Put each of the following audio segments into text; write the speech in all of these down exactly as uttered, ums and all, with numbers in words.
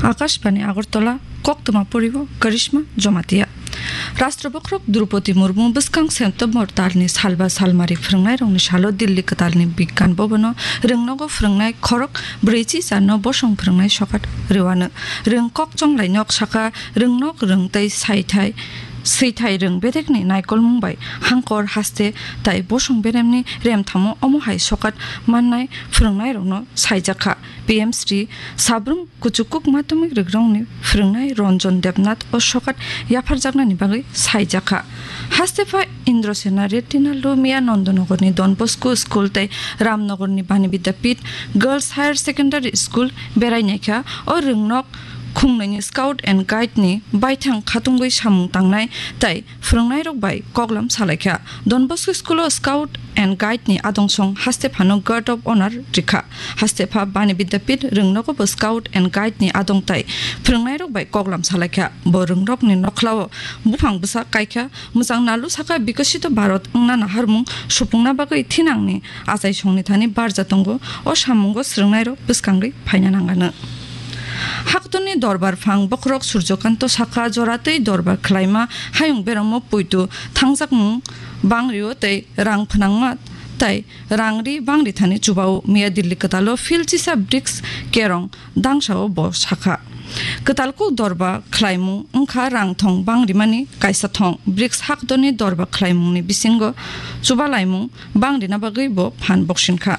Akashbani Agartala, koktwma poribo Karishma Jamatia. Rashtra Bokhorok Droupadi Murmu bwskang September talni salba salmari phwrwngnairokni salo Delhi kwtalni Bigyan Bhavan-o rwngnogo phwrwngnai khorok brwichi charno bosong phwrwngnai sokat rwuano. Rwng kok chonglainok sakha rwngnok rwng tei saithai swithai rwng bedekni naikolmung bai hangkor haste tai bosong beremni remthamo omo hai sokat mannai phwrwngnairokno saijakha. P M Shri Sabrum Kuchukuk Madhyamik Rigrongni phwrwngnai Ranjan Debnath o sokat yapharjaknani bagwi saijakha. Hastepha Indrasena Reddy Nallu miya Nandanagarni Don Bosco School tei Ramnagarni Bani Vidyapith Girls Higher Secondary School berai naikha. O rwngnok khungnaini Scout and Guide ni baithang khatungwi samung tangnai tei phwrwngnairok bai koklam salaikha. Don Bosco School o Scout and Guide ni adongsong hastephano Guard of Honor rikha. Hastepha Bani Vidyapith rwngnogo bo Scout and Guide ni adong tai phwrwngnairok bai koklam salaikha. Bo rwngnokni nokhlao buphang bwsa kaikha. Mwchang Nallu sakha, Bikasito Bharat wngna naharmung supungna bagwi thinangni achaisongni thani barja tongo. O samungo swrwngnairok bwskangwi phaina nangano. Haktorni dorbar phang bokhorok Surjokanto sakha, joratwi dorbar khlaima hayung beramo poito thangjakmung bangrio tei rang phnangma tai rangri bangri thani chubao. Miya Delhi kwtalo phil chisa BRICS kerong dangsao bo sakha. Kwtal kuk dorba khlaimung wngkha rang thong bangrimani kaisa thong. BRICS haktorni dorba khlaimungni bisingo chubalaimung bangrina bagwi bo phan boksinkha.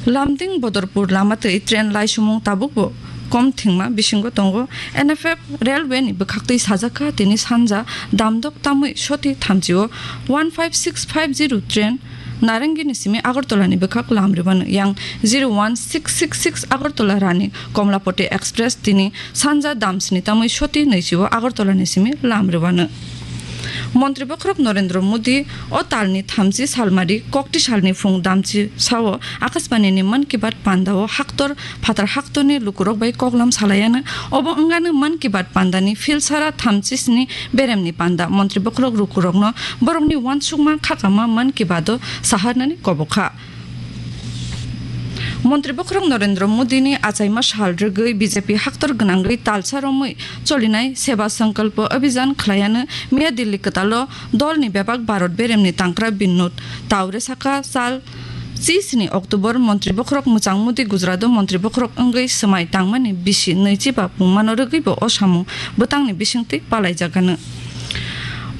Lumding Bodorpur lama twi train laisumung tabukbo kom thwngma bisingo tongo. N F F railway ni bwkhaktwi sajakha, tini sanja damdok tamwi soti thamchio one five six five zero train Narangini simi Agartala ni bwkhak lam rwbano. Yang zero one six six six Agartala Rani Komlapati Express tini sanja damsni tamwi soti nwichio Agartala ni simi lam rwbano. Montri Bokhorok Narendra Modi o talni thamchi salmari kokti salni phung damchi sao Akashbani ni Mann Ki Baat panda o haktor phatar haktorni lukurok bai koklam salaiano. Obo wngano Mann Ki Baat panda ni philsara thamchi sni beremni panda. Montri Bokhorok lukurokno borokni uansukma khakama Mann Ki Baat o saharnani kobokha. Montri Bokhorok Narendra Modi ni achaima sal rwgwi B J P haktor gwnangwi talsa romwi cholinai Seva Sankalpo Abhijan khlaiano. Miya Delhi kwtalo dolni bebak Bharat beremni tangkra Binod Taure sakha, sal chi sni October Montri Bokhorok mwchang Modi Gujarat o Montri Bokhorok wngwi swmai tangmani bisi nwichi ba pungmano rwgwi bo o samung bwtangni bisingtwi palaijagano.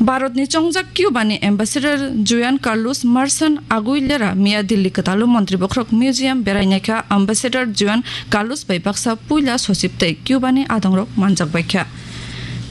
Bharatni chongjak Cuba ni Ambassador Juan Carlos Marsan Aguilera miya Delhi kwtalo Montri Bokhorok Museum berai naikha. Ambassador Juan Carlos bai baksa puila sochib tei Cuba ni adongrok manjak baikha.